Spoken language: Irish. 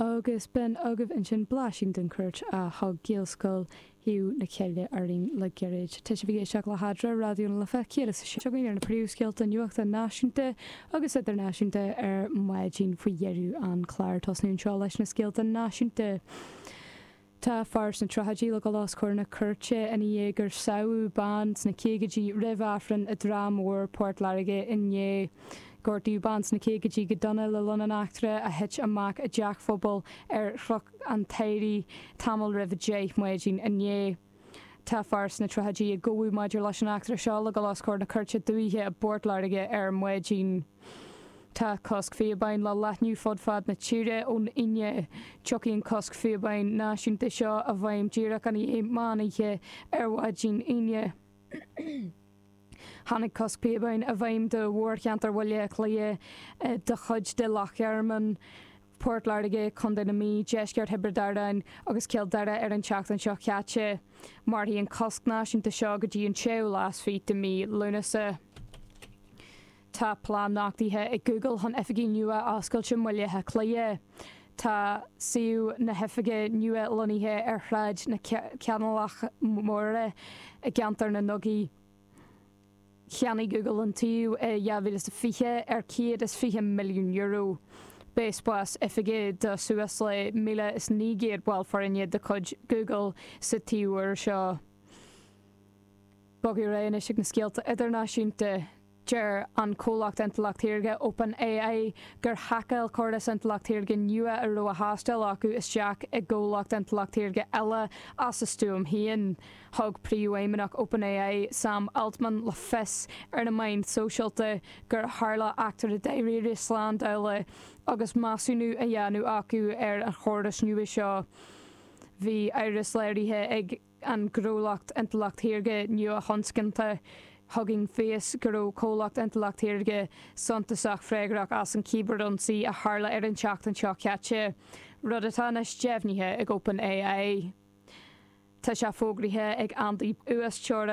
Agus b'in agaibh ansin blaisín den chuairt a thug Gaelscoil Thaobh na Cille orainn le gairid. Tá sibh ag éisteacht le hEadra, Raidió na Life 106. Againn ar na príomhscéalta nuachta náisiúnta agus idirnáisiúnta ar maidin faoi dheireadh an chláir. Tosnú anseo leis na scéalta náisiúnta. Tá fear sna tríochaidí le dhul os comhair na cúirte ina dhiaidh gur sádh bean sna caogaidí roimh Aifreann i dTrá Mhór, Port Láirge inné. Gortaíodh bean sna caogaidí go dona le linn an eachtra a thit amach i dteach phobail ar Chnoc an tSamhraidh tamall roimh 10 maidin inné. Tá fear sna tríochaidí a gabhadh maidir leis an eachtra seo le dhul os comhair na Cúirte Dúiche i bPort Láirge ar maidin. Tá cosc píobáin le leathnú fud fad na tíre ón Aoine. Tiocfaidh an cosc phíobáin náisiúnta seo i bhfeidhm díreach i ndiaidh meán oíche ar mhaidin Aoine. Tháinig cosc píobáin i bhfeidhm do mhórcheantar Bhaile Átha Cliath, do chuid de Loch Garman, Port Láirge, Contae na Mí, deisceart Thiobraid Árann agus Cill Dara ar an tseachtain seo caite. Mairfidh an cosc náisiúnta seo go dtí an séú lá is fiche de mhí Lúnasa. Tá plean nochtaithe ag Google chun oifigí nua a oscailt i mBaile Átha Cliath. Tá suíomh na hoifige nua lonnaithe ar Shráid na Canálach Móire i gceantar na nDugaí. Cheannaigh Google an tsuíomh i 2020 ar €120 milliún. Beidh spás oifige do suas le 1,900 ball foirne de chuid Google sa tsuíomh úr seo. Bogadh ar aghaidh anois ag na scéalta idirnáisiúnta. Deir an comhlacht intleacht shaorga OpenAI gur haiceáil córas intleacht shaorga nua a raibh á thástáil acu isteach i gcomhlacht intleacht shaorga eile as a stuaim féin. Thug príomhfheidhmeannach OpenAI, Sam Altman, le fios ar na meáin shóisialta gur tharla eachtra dáiríre slándála agus measúnú á dhéanamh acu ar an chóras nua seo. Bhí amhras léirithe ag. an gnólacht intleacht shaorga nua-thionscanta Hugging Face go raibh comhlacht intleacht shaorga suntasach freagrach as an cíbearionsaí a tharla ar an tseachtain seo caite, rud atá anois deimhnithe ag OpenAI. Tá sé fógraithe ag Andy uasteorainn.